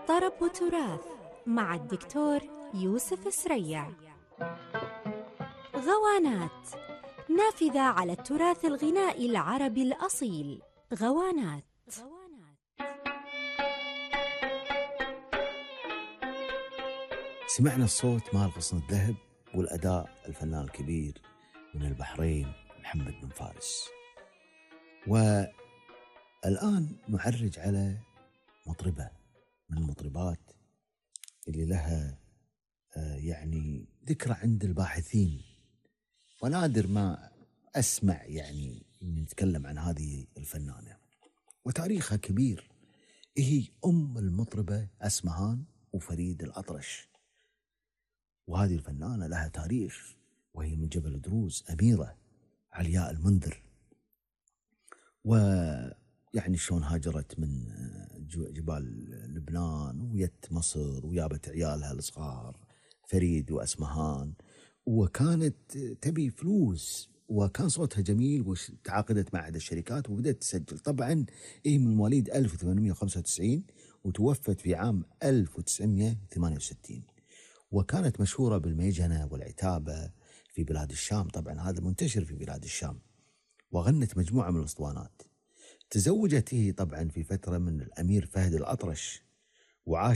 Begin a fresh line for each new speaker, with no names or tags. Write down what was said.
طرب وتراث مع الدكتور يوسف سريع. غوانات، نافذة على التراث الغنائي العربي الأصيل. غوانات.
سمعنا الصوت مال غصن الذهب والأداء الفنان الكبير من البحرين محمد بن فارس. والآن نعرج على مطربة من المطربات اللي لها يعني ذكرى عند الباحثين، ونادر ما أسمع يعني نتكلم عن هذه الفنانة، وتاريخها كبير. هي أم المطربة أسمهان وفريد الأطرش، وهذه الفنانة لها تاريخ، وهي من جبل دروز، أميرة علياء المنذر. ويعني شلون هاجرت من جبال لبنان ويت مصر ويابت عيالها الصغار فريد وأسمهان، وكانت تبي فلوس، وكان صوتها جميل، وتعاقدت مع عدة الشركات وبدأت تسجل. طبعا هي من مواليد 1895 وتوفت في عام 1968، وكانت مشهورة بالميجنة والعتابة في بلاد الشام. طبعا هذا منتشر في بلاد الشام، وغنت مجموعة من الأسطوانات. تزوجت هي طبعا في فترة من الأمير فهد الأطرش، وعاش